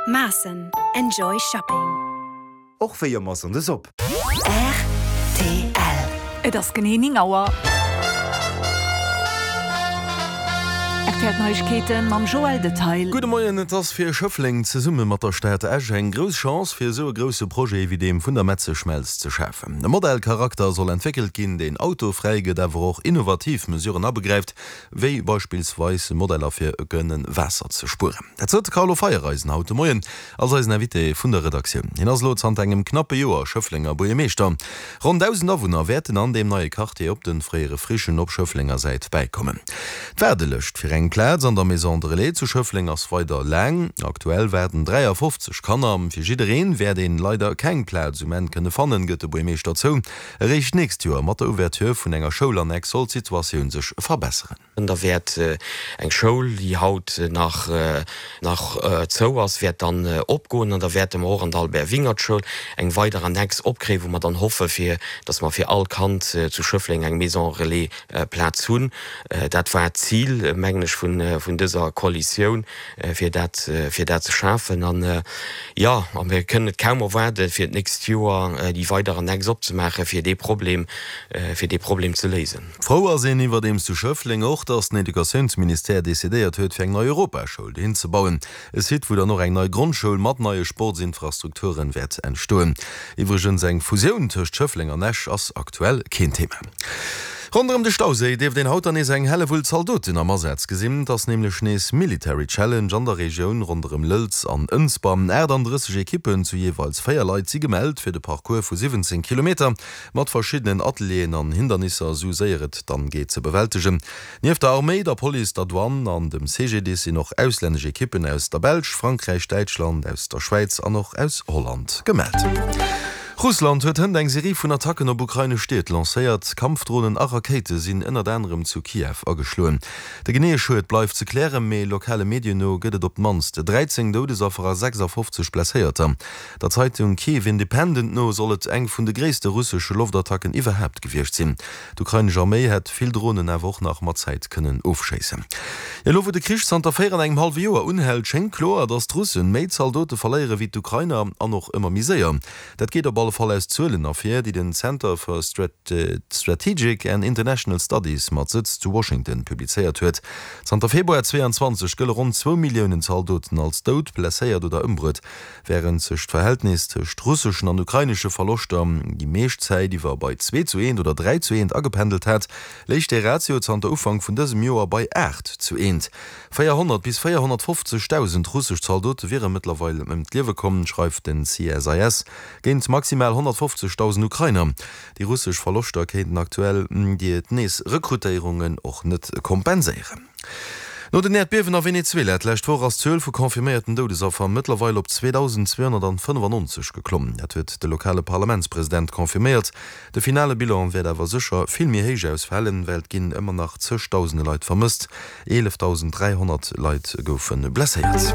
Maassen, enjoy shopping. Och wéi ëmmer Sonndes op. Rtl. Et ass genee 9 Auer. Rtl Neiegkeeten mam Joël Detail. Gudde Moien, Et ass fir Schëffleng zesumme mat der Stad Esch eng grouss Chance fir esou e grousse Projet wéi deem vun der Metzeschmelz ze schafen. E Modellcharakter soll entwéckelt ginn, deen autofräi gëtt, awer och innovativ Mesuren abegräift, wéi beispillsweis Modeller fir kënne Waasser ze spueren. Dat sot de Carlo Feiereisen haut de Moien als eisen Invité vun der Redaktioun. Hien ass elo zanter engem knappe Joer Schëfflenger Buergermeeschter. Ronn 1.000 Awunner wäerten an deem neie Quartier op de fréiere Frichen op Schëfflenger Säit bäikommen. D'Waardelëscht fir eng Plaz an der Maison de Relais zu Schëffleng ass weider laang. Aktuell waarden 53 Kanner. Fir jiddereen wäert een leider keng Plaz um Enn kënne fannen, gëtt de Buergermeeschter zou. Eréischt d'nächst Joer, mat der Ouverture vun enger Schoulannex, soll d'Situatioun sech verbesseren. Da wäert eng Schoul, déi haut nach nach zou ass, wäert dann opgoen an da wäerte mer och an der Albert Wingert Schoul eng weider Annex opkréien, wou mer dann hoffe fir dass mer fir all Kand zu Schëffleng eng Maison Relais Plaz hunn. Dat war d'Zil, mengen ech, vun vun dëser Koalitioun. fir dat, fir dat ze schafen. An, jo, a mir kënnen et kaum erwaarden, fir d'nächst Joer déi weider Annex opzemaachen, fir dee Problem, fir dee Problem ze léisen. Frou ass een iwwerdeems zu Schëffleng och, datt den Educatiounsministère decidéiert huet, fir eng nei Europaschoul dohin ze bauen. E Site, wou dann och eng nei Grondschoul mat neie Sportsinfrastrukturen wäert entstoen. Iwwregens, eng Fusioun tëscht Schëffleng an Esch ass aktuell keen Thema. Ronderëm de Stauséi dierft een haut dann nees eng Hellewull Zaldoten am Asaz gesinn. Et ass nämlech nees Military Challenge an der Regioun ronderëm Lëlz an Ënsber. 38 Ekippen zu jeeweils 4 Leit si gemellt fir de Parcours vu 17 Kilometer mat verschiddenen Atelieren an Hindernisser esou séier et dann geet ze bewältegen. Nieft der Arméi, der Police, der Douane an dem CGDIS sinn och auslännesch Ekippen aus der Belsch, Frankräich, Däitschland, aus der Schwäiz an och aus Holland gemellt. Russland huet hënt eng Serie vun Attacken op ukrainesch Stied lancéiert. Kampfdronen a Rakéite sinn ënnert anerem zu Kiew ageschloen. De geneeë Schued bleift ze klären, mee lokale Medien no gëtt et op d'mannst 13 Doudesaffer a 56 Blesséierter. Der Zeitung Kyiv Independent no soll et eng vun de gréisste russesche Loftattacken iwwerhaapt gewiescht sinn. D'ukrainesch Arméi hätt vill Dronen awer och nach mat Zäit kënnen ofschéissen. Elo wou de Krich zanter 4 an engem hallwe Joer unhält, schéngt kloer, datt d'Russen méi Zaldote verléiere wéi d'Ukrainer an och ëmmer méi séier. Dat geet op alle Fall aus Zuelen ervir, déi den Center for Strategic and International Studies mat Sëtz zu Washington publizéiert huet. Zanter Februar 22 gëlle ronn zwou Milliounen Zaldoten als dout, blesséiert oder ëmbruet. Wärend sech d'Verhältnis tëscht russeschen an ukrainesche Verloschter déi meescht Zäit iwwer bei zwee zu eent oder dräi zu eent agependelt hat, léich dee Ratio zanter Ufank vun dësem Joer bei 8 zu eent. 400 bis 450.000 russesch Zaldote wiere mëttlerweil ëm d'Liewe komm, schreift den CSIS, géint maximal 150.000 Ukrainer. Déi russesch Verloschter kéinten aktuell déi nees Rekrutéierungen och net kompenséieren. No den Äerdbiewen a Venezuela d'lescht Woch ass d'Zuel vu confirméierten Doudesaffer mëttlerweil op 2.295 geklomm. Dat huet de lokale Parlamentspresident confirméiert. De finale Bilan wäert awer sécher vill méi héich ausfalen, well et ginn ëmmer nach zeg Dausende Leit vermësst. 11.300 Leit goufe blesséiert.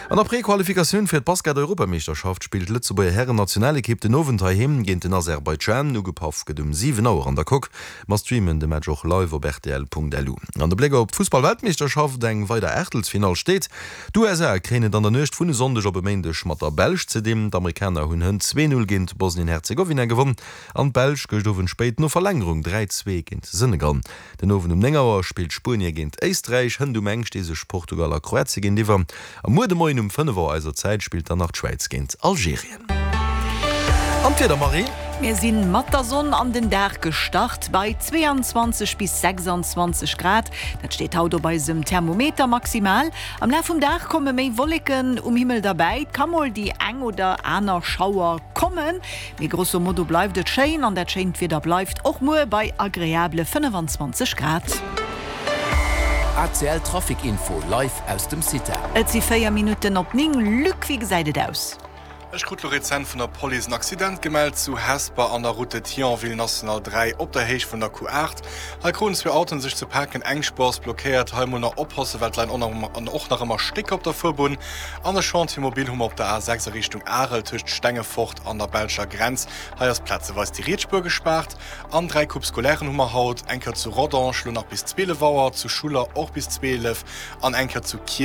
An der Prequalifikatioun fir d'Basket-Europameeschterschaft spillt d'Lëtzebuerger Hären-Nationalekipp den Owend heiheem géint den Aserbaidschan. Ugepaff gëtt um 7 Auer an der Coque. Mer streamen de Match och live op rtl.lu. An de Bléck op d'Fussball-Weltmeeschterschaft, Eng weider Aachtelsfinall steet. D'USA kréien et an der Nuecht vun e Sonndeg op e Méindeg mat der Belsch ze dinn. D'Amerikaner hunn hënt 2, 0 géint Bosnien-Herzegowina gewonn an d'Belsch gëscht Owend spéit no Verlängerung 3, 2 géint Senegal. Den Owend um 9 Auer spillt Spuenie géint Éisträich, hënt um eng sti sech Portugal a Kroatie géintiwwer a muer de Moien um 5 Auer eiser Zäit spillt dann nach d'Schwäiz géint Algerien. An d'Wieder, Marie? Mir sinn mat der Sonn an den Dag gestart bei 22 bis 26 Grad. Dat steet haut op eisem Thermometer maximal. Am Laf vum Dag komme méi Wolleken um Himmel derbäi, et ka mol déi eng oder aner Schauer kommen, mee grosso modo bleift et schéin an dat schéint Wieder bleift och muer bei agreabele 25 Grad. ACL Trafic Info live aus dem CITA. Et si 4 Minutten op 9. Luc, wéi gesäit et aus? Ech krut lo rezent vun der Police en Accident gemellt zu Hesper an der Route de Thionville, National 3, op der Héicht vun der Q8. Hei kruten zwee Autoen sech ze paken, eng Spuer ass blockéiert. Hei mol nach oppassen, well et leien och nach ëmmer Stécker op der Fuerbunn. An e Chantier mobile hu mer op der A6 a Richtung Arel tëscht Stengefort an der belscher Grenz. Hei ass plazeweis déi riets Spuer gespaart. An 3 Coupes scolairen hu mer haut, eng Kéier zu Rodange, lo nach bis 12 Auer, zu Schuller och bis 12 an eng Kéier zu Kielen.